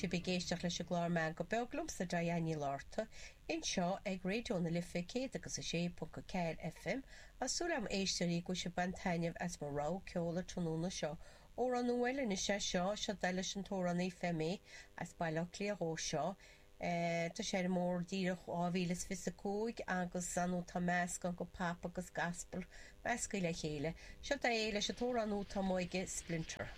Sibh ag éisteacht leis an gclár Meangadh Beag liomsa, Diane Ní Fhlatharta, anseo ag Raidió na Life 106.4 FM. Tá súil agam, a éisteoirí, go bhfuil sibh ag baint taitneamh as mo rogha ceoil an tráthnóna seo. Amhrán nua eile anois é seo, seo é leis an t-amhránaí Femi as Baile Átha Cliath dhó seo. Tá sé ar an mbóthar díreach 2025 agus ar ndóigh tá meascán de pop agus gospel measctha le chéile. Seo é leis an t-amhrán nua atá amuigh aige, Splinter.